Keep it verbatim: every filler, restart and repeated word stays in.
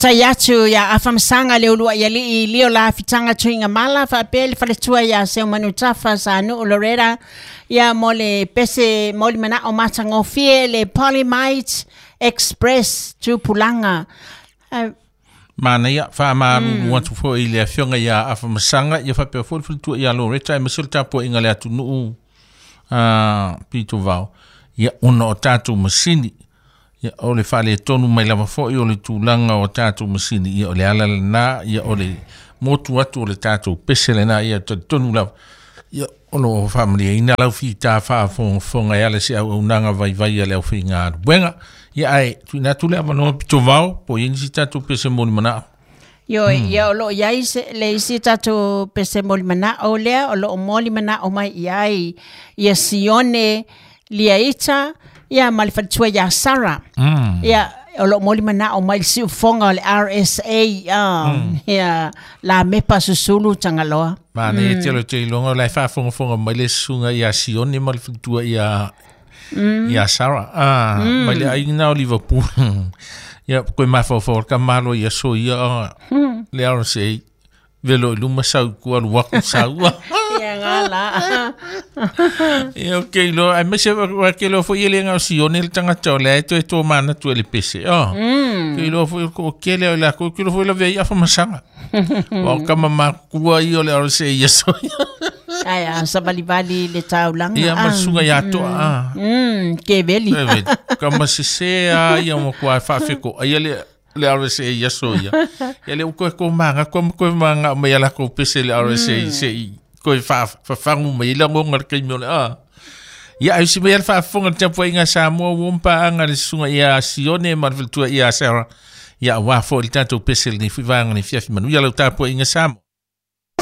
Tai atu ia Afamasaga le uluai alii lio la fitaga tuiga mala faapea le faletua ia Seumanutafa Sanuu Loretta ia mo le pese mo le manao matagofie le Polymite Express Tupulaga. Manaia faamalulu atu foi i le afioga ia Afamasaga ia faapea foi le faletua ia Loretta aemaise le tapuaiga le atunuu a Pitovao ia ona o tatou masini ia o le faaletonu mai lava foi o le tulaga o tatou masini ia o le ala lena ia o le motu atu o le tatou pese lena ia talitonu lava ia o loo faamalieina lau fita faafogafoga e ala se auaunaga vaivai a le aufaigaluega ia ae tuuina atu le avanoa Pitovao po o i ai nisi tatou pese mo le manao. Io ia o loo iai se le isi tatou pese mo le manao lea o loo mo le manao mai iai ia Sione Liaita ia ma le faletua ia Sara. Mm. Ia o loo mo le manao mai le siufoga o le R S A um, ia la mepa susulu Tagaloa. Manaia tele o te iloga o la e faafogafoga mai le susuga ia Sione ma le faletua ia ia Sara ah mai le aiga o Liverpool ia koe mafaufau le kamalo ia so ia le R S A velo i luma sau kua luaku sau. Ia ngala. Ia okay lo ai mese wa ke lo fo ile ngau Sione le tangata o le ai toe tō mana tu le pese. Oh. Ke lo fo ko ke le la ko ke lo fo la vei Afamasaga. Wa kama makua i o le R S A ia so. Ai a savalivali le taulaga. Ia masuga ia toa. Ah. Mm, ke veli. Kama sese a ia mo kwa faafeko. Ai le le R S A ia so ia. Ia le ko ko manga ko ko manga mai ala ko pese le R S A se i ko fa fa fangu mai la ngonga le kaimi o le a. Ia ai si mai al faafofoga le tapuaiga Samoa ua paaga le susuga ia Sione ma le faletua ia Sara. Ia aua foi le tatou pese lenei foi vaega nei fiafi manuia lau tapuaiga Samoa.